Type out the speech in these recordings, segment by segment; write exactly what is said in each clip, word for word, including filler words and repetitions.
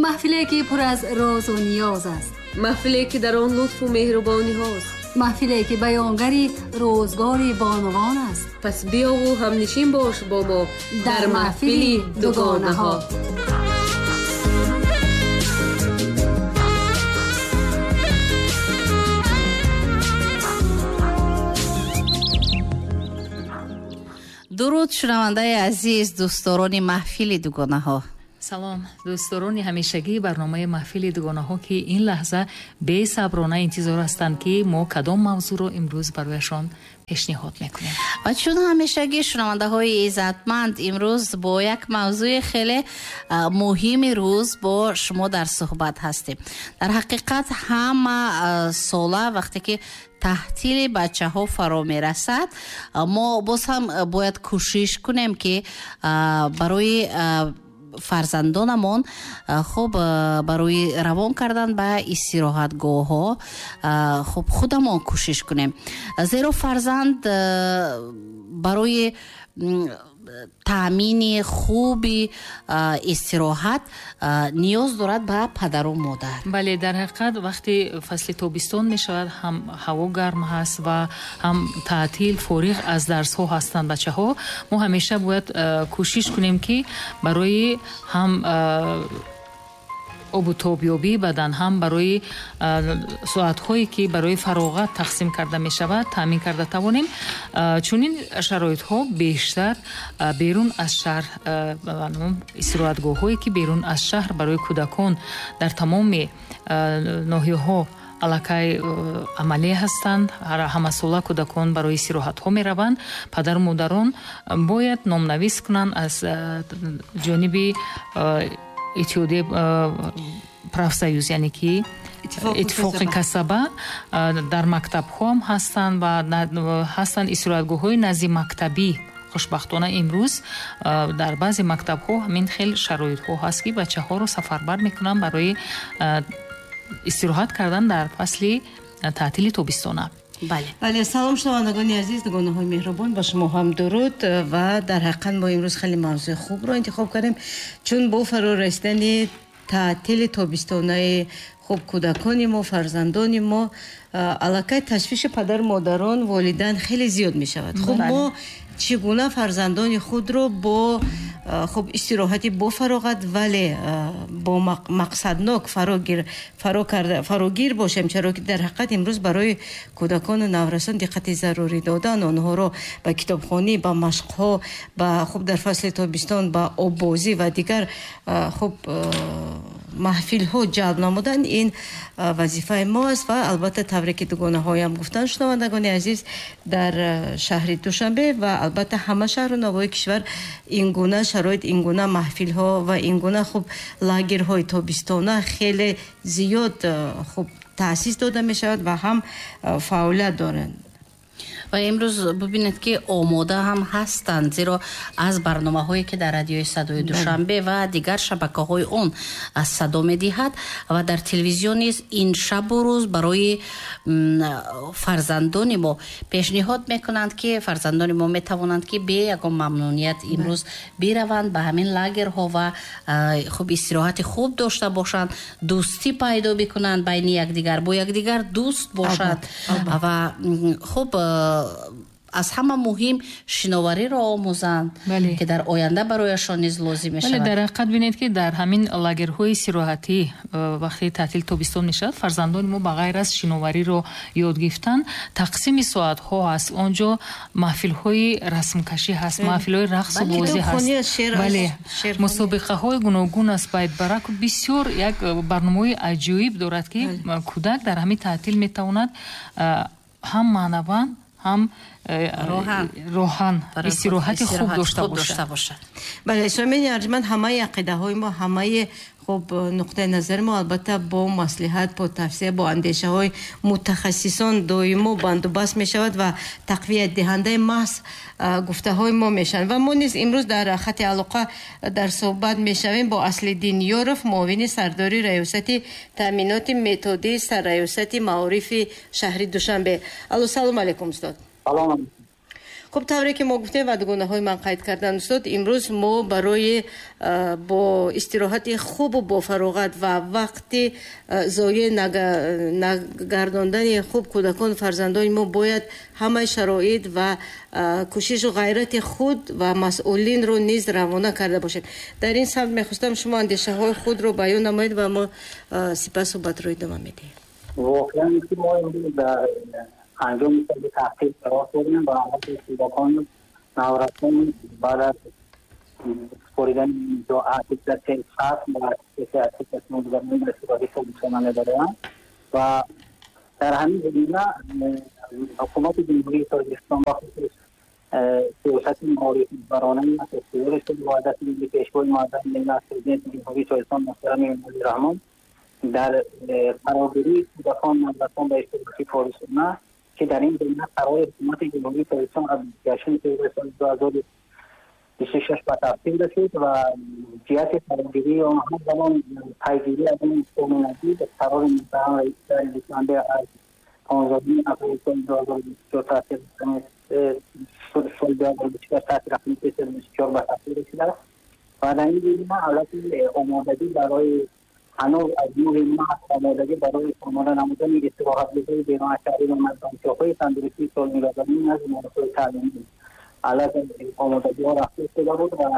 Маҳфиле ки пур аз розу ниёз аст, маҳфиле ки дар он лутфу меҳрубониҳост, маҳфиле ки баёнгари рӯзгори бонувон аст. Пас биёву ҳамнишин бош бо мо дар маҳфили дугонаҳо. Дуруд шунавандаи азиз, дӯстдорони маҳфили дугонаҳо. Салом дӯстдорони ҳамешагии барномаи маҳфили дугонаҳо, ки ин лаҳза бесаброна интизор ҳастанд, ки мо кадом мавзӯъро имрӯз барояшон пешниҳод мекунем. Ва чун ҳамешагӣ шунавандаҳои иззатманд, имрӯз бо як мавзӯи хеле муҳими рӯз бо шумо дар суҳбат ҳастем. Дар ҳақиқат ҳама сола вақте ки таҳтили бачаҳо фаро мерасад, мо боз ҳам бояд кӯшиш кунем, ки барои фарзандонамон хуб барои равон кардан ба истироҳатгоҳҳо хуб худамон кӯшиш кунем, зеро фарзанд барои таъмини хуби истироҳат ниёз дорад ба падару модар. Бале, дар ҳақиқат вақте фасли тобистон мешавад, ҳам ҳаво гарм ҳаст ва ҳам таътил, фориғ аз дарсҳо ҳастанд бачаҳо. Мо ҳамеша бояд кӯшиш кунем, ки барои ҳам обу тобёбии бадан, ҳам барои соатҳое ки барои фароғат тақсим карда мешавад, таъмин карда тавонем. Чунин шароитҳо бештар берун аз шаҳр, истироҳатгоҳҳое ки берун аз шаҳр барои кӯдакон дар тамоми ноҳияҳо аллакай амалӣ ҳастанд. Ҳамасола кӯдакон барои истироҳатҳо мераванд. Падару модарон бояд номнавис кунанд аз ҷониби иттиҳодияи профсоюз, яъне ки иттифоқи касаба. Дар мактабҳо ҳам ҳастанд ва ҳастанд истироҳатгоҳҳои назди мактабӣ. Хушбахтона имрӯз дар баъзе мактабҳо ҳамин хел шароитҳо ҳаст, ки бачаҳоро сафарбар мекунанд барои истироҳат кардан дар фасли таътили тобистона. Бале. Бале, салом шунавандагони азиз, дугонаҳои меҳрубон, ба шумо ҳам дуруд. Ва дар ҳақиқат мо имрӯз хеле мавзӯи хубро интихоб кардем, чун бо фаро расидани таътили тобистонаи хуб кӯдакони мо, фарзандони мо, аллакай ташвиши падару модарон, волидан хеле зиёд мешавад. Хуб, мо чӣ гуна фарзандони худро бо хуб истироҳати бо фароғат, вале бо мақсаднок фарогир, фаро карда, фарогир бошем, чаро ки дар ҳақиқат имрӯз барои кӯдакону наврасон диққати зарурӣ додан, онҳоро ба китобхонӣ, ба машқҳо, ба хуб дар фасли тобистон ба оббозӣ ва дигар хуб маҳфилҳо ҷалб намудан, ин вазифаи мо аст. Ва албатта тавре ки дугонаҳоям гуфтанд, шунавандагони азиз, дар шаҳри Душанбе ва албатта ҳама шаҳру навоҳии кишвар ин гуна шароит, ин гуна маҳфилҳо ва ин гуна хуб лагерҳои тобистона хеле зиёд хуб таъсис дода мешавад ва ҳам фаъолият доранд. Ва имрӯз бибинед, ки омода ҳам ҳастанд, зеро аз барномаҳое ки дар радиои садои Душанбе ва дигар шабакаҳои он аз садо медиҳад ва дар телевизион низ ин шабу рӯз барои фарзандони мо пешниҳод мекунанд, ки фарзандони мо метавонанд, ки бе ягон мамнуният имрӯз бираванд ба ҳамин лагерҳо ва хуб истироҳати хуб дошта бошанд, дӯстӣ пайдо бикунанд байни якдигар, бо якдигар дӯст бошанд ва хуб аз ҳама муҳим шиновариро омӯзанд, ки дар оянда барояшон низ лозим мешавад. Бале, дар ҳақиқат бинед, ки дар ҳамин лагерҳои истироҳатӣ вақте таътил тобистон мешавад, фарзандони мо ба ғайр аз шиновариро ёд гирифтан, тақсими соатҳо ҳаст. Он ҷо маҳфилҳои расмкашӣ ҳаст, маҳфилҳои рақсу бозӣ ҳаст, бале, мусобиқаҳои гуногун аст. Байтбарак бисёр як барномаи аҷоиб дорад, ки кӯдак дар ҳамин таътил метавонад ҳам маънаван, ҳам роҳан истироҳати хуб дошта бошад. Бале, сомини арҷманд, ҳамаи ақидаҳои мо, ҳамаи хуб нуқтаи назари мо албатта бо маслиҳат, бо тавсия, бо андешаҳои мутахассисон доимо бандубаст мешавад ва тақвиятдиҳандаи маҳз гуфтаҳои мо мешаванд. Ва мо низ имрӯз дар хати алоқа дар суҳбат мешавем бо Аслиддин Ёров, муовини сардори раёсати таъминоти методии сарраёсати маорифи шаҳри Душанбе. Алло, салом алейкум, устод. Салом. Хуб, тавре ки мо гуфтем ва дугонаҳои ман қайд карданд, устод, имрӯз мо барои бо истироҳати хубу бо фароғат ва вақти зоеъ нагардондани хуб кӯдакон, фарзандони мо бояд ҳамаи шароит ва кӯшишу ғайрати худ ва масъулинро низ равона карда бошем. Дар ин самт мехостам шумо андешаҳои худро баён намоед ва мо сипас суҳбатро идома медиҳем. Воқеан ки мо имрӯз дар анҷоми соли таҳсил қарор дорем ва албатта кӯдакон, наврасон баъд аз супоридани аттестатсияи фасл ва аттестатсияи гузаронидани ба истироҳати тобистона мебароянд ва дар ҳамин замина ҳукумати Ҷумҳурии Тоҷикистон ба хусус сиёсати маорифбаронаи асосгузори сулҳу ваҳдати миллӣ, Пешвои муаззами миллат, Президенти Ҷумҳурии Тоҷикистон муҳтарам Эмомалӣ Раҳмон дар фарогирии кӯдакон, наврасон ба истироҳати тобистона, ки дар ин замина қарори ҳукумати Ҷумҳурии Тоҷикистон аз бисту ҳаштуми феврали соли ду ҳазору бисту шаш ба тасвиб расид ва ҷиҳати фарогирии он ҳамзамон пайгирӣ аз он қонунагӣ қарори муҳтарам раиси шаҳри Душанбе аз понздаҳуми апрели соли ду ҳазору бисту чор таъсир соли ду ҳазору бисту чор таҳти рақами сесаду бисту чор ба тасвиб расидааст ва дар ин замина ҳолати омодагӣ барои ҳанӯз аз нӯҳи март омодагӣ барои омода намудани истироҳатгоҳҳои берунашаҳрӣ ва майдончаҳои тандурустии солимгардонӣ назди муассисаҳои таълимӣ аллакай омодагиҳо рафта истода буд ва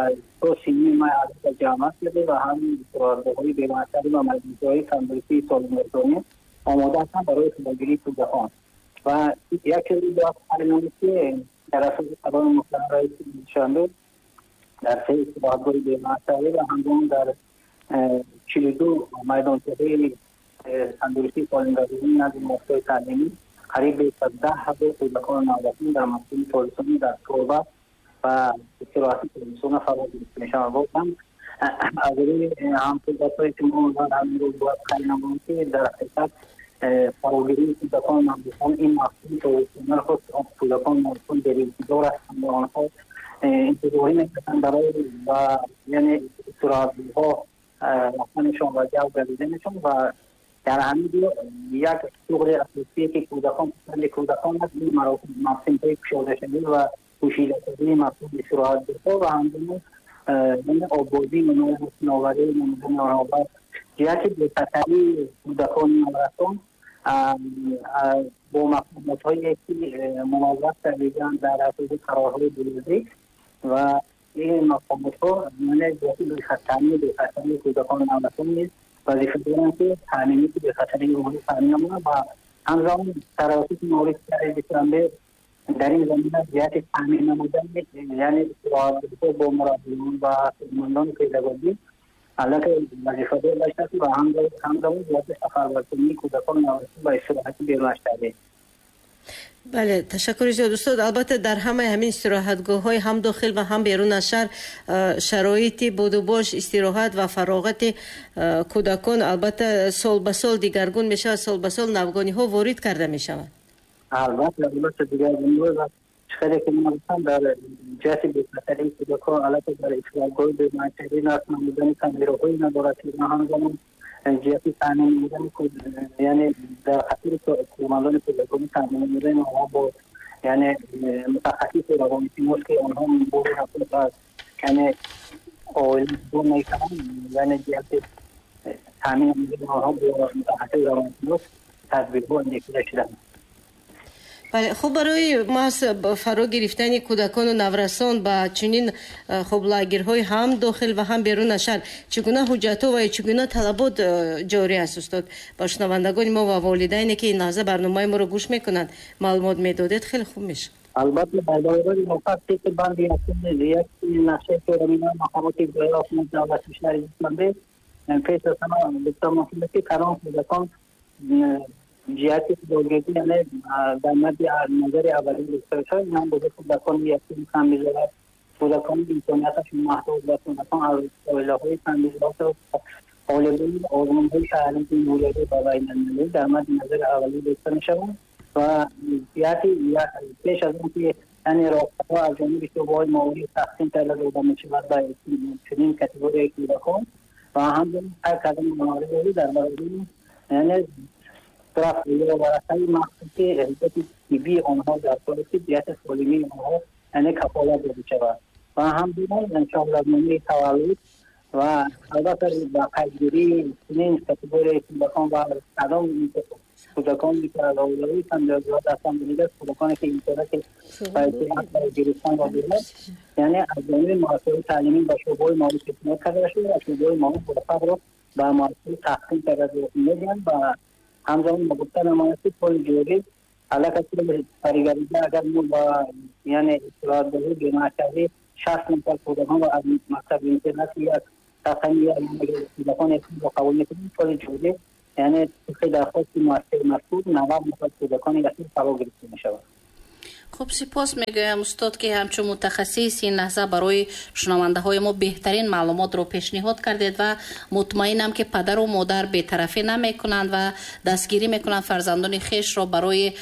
то сиюми май аллакай ҷамъ шуда ва ҳамин истироҳатгоҳҳои берунашаҳрӣ ва майдончаҳои тандурустии солимгардонӣ омода ҳастанд барои фарогирии кӯдакон. Ва як чизи бояд қайд намуд, ки дар асоси қарори муҳтарам раиси Душанбе дар се истироҳатгоҳи берунашаҳрӣ ва ҳамзамон дар чилу ду майдончаҳои тандурустии солимгардонӣ назди муассисаҳои таълимӣ қариб беш аз даҳ ҳазор кӯдакону наврасон дар мавсими тобистонӣ дар торба ва истироҳати тобистона фаро гирифта мешаванд. Воқеан аз рӯи ҳамсӯҳбатҳое ки мо дар ҳамин рӯз бояд қайд намоем, ки дар ҳақиқат фарогирии кӯдакону наврасон ин мавсими тобистона худ кӯдакону наврасон деринтизор ҳастанд ва онҳо интизорӣ мекашанд барои ва яъне истироҳатгоҳҳо рафтанашон ва ҷалб гардиданашон ва дар ҳамин ҷо як шуғли асосие ки кӯдакон писанди кӯдакон аст, ин мавсимҳои кушодашавӣ ва пӯшидашавии мавсими истироҳатгоҳҳо ва ҳамзамон оббозии онҳо, шиноварии намудани онҳо ва ҷиҳати бехатарии кӯдакону наврасон бо мақомотҳое ки муваззаф кардидаанд дар асоси қарорҳои буюрӣ ва ин мақомотҳо ҷиҳати бехатарии бехатарии кӯдакону наврасон низ вазифа доранд, ки таъминоти бехатарии онҳоро таъмин намоянд ва ҳамзамон тавассути маорифи шаҳри Душанбе дар ин замина ҷиҳати таъмин намудани яъне истироҳатгоҳҳо бо мураббиён ва кормандони педагогӣ аллакай вазифадор гаштааст ва ҳамзамон ҷиҳати сафарбаркунии кӯдакону наврасон ба истироҳати берунашаҳрӣ. Бале, ташаккури зиёд, устод. Албатта дар ҳамаи ҳамин истироҳатгоҳҳои ҳам дохил ва ҳам берун аз шаҳр шароити будубош, истироҳат ва фароғати кӯдакон албатта сол ба сол дигаргун мешавад, сол ба сол навгониҳо ворид карда мешаванд. Албатта, албатта дигаргуниҳо ва чӣ ки ман гуфтам дар ҷиҳати бехатарии кӯдакон албатта дар истироҳатгоҳҳои берунашаҳрӣ насб намудани камераҳои назоратӣ ва ҳамзамон ҷиҳати таъмин намудани яъне дар хатари кормандони педагогӣ таъмин намудани онҳо бо яъне мутахассиси равоншинос, ки онҳо бори рафт аз яъне оила ҷудо мекунанд, яъне ҷиҳати таъмин намудани онҳо бо мутахассиси равоншинос тадбирҳо андешида шуданд. Бале, хуб, барои маҳз фаро гирифтани кӯдакону наврасон ба чунин хуб лагерҳои ҳам дохил ва ҳам берун аз шаҳр чӣ гуна ҳуҷҷатҳо ва чӣ гуна талабот ҷорӣ аст, устод? Ба шунавандагони мо ва волидайне ки ин лаҳза барномаи моро гӯш мекунанд маълумот медодед, хеле хуб мешуд. Албатта, дар доираи мувофиқ тибқи банди якуми як нақшаи чорабиниҳои мақомоти иҷроияи ҳокимияти давлатии шаҳри Душанбе пеш аз ҳама гуфта мумкин аст, ки кадом кӯдакон ҷиҳати худогирӣ яъне дар мадди назари аввалин гирифта мешавад, ин ҳам буда кӯдакони ятим, камбизоат, кӯдакони имконияташон маҳдуд ва кӯдакон аз оилаҳои камбизоат, ғолибони озмунҳои шаҳрии ҷумҳуриявӣ ва байналмилалӣ дар мадди назари аввалин гирифта мешаванд ва ҷиҳати пеш аз он ки яъне роҳхатҳо аз ҷониби шӯъбаҳои маориф тақсим карда дода мешавад ба чунин категорияи кӯдакон ва ҳамчунин қайд кардани маориф дар баробари яъне рафт ё варақаи махсуси ҳуҷҷати тиббии онҳо дар кор аст, ки ҷиҳати солимии онҳо یعنی کفالت داده شود و همچنین انشاءالله تولد و البته با قیدگیری چنین کاتگوری کودکان و کدام کودکانی که علاوه هم هستند دیگر کودکانی که اینترنت برای گرفتن را دارند، یعنی از جانب مؤسسه تعلیمی با شعبه‌های معارف پیشنهاد کرده شده و شعبه‌های معارف ورقه را به مؤسسه تقسیم کرده میدن و همزمان با گفتن مؤسسه پول جوری علاقه فریگریده اگر ما با یعنی اطلاعات دهی جمع کردی شصت نفر کودکان را از مکتب اینترنت یک تقنی کودکان را قبول میکنیم پول جوری یعنی طبق درخواست مؤسسه مذکور نود نفر کودکان یتیم فرا گرفته میشود. خب سپاس میگویم استاد که همچون متخصص این لحظه برای شنونده های ما بهترین معلومات رو پیشنهاد کردید و مطمئنم که پدر و مادر بی‌طرفی نمیکنند و دستگیری میکنند فرزندان خویش را برای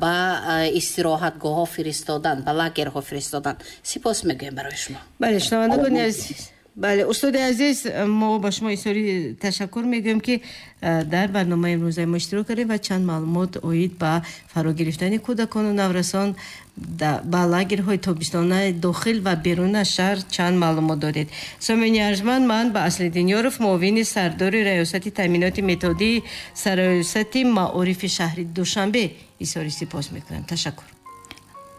با استراحتگاه ها فرستادن، به لاگرها فرستادن. سپاس میگویم برای شما. بله شنوندگان عزیز، بله استاد عزیز، ما با شما ایساری تشکر میگویم که در برنامه امروز ما اشتراک کردیم و چند معلومات оид ба фаро гирифтани кӯдакону наврасон ба лагерҳои тобистона дохил ва берун аз шаҳр чанд маълумот додед. Сомини арҷманд, ман ба Аслиддин Ёров, муовини сардори раёсати таъминоти методии сарраёсати маорифи шаҳри Душанбе изҳори сипос мекунам. Ташаккур.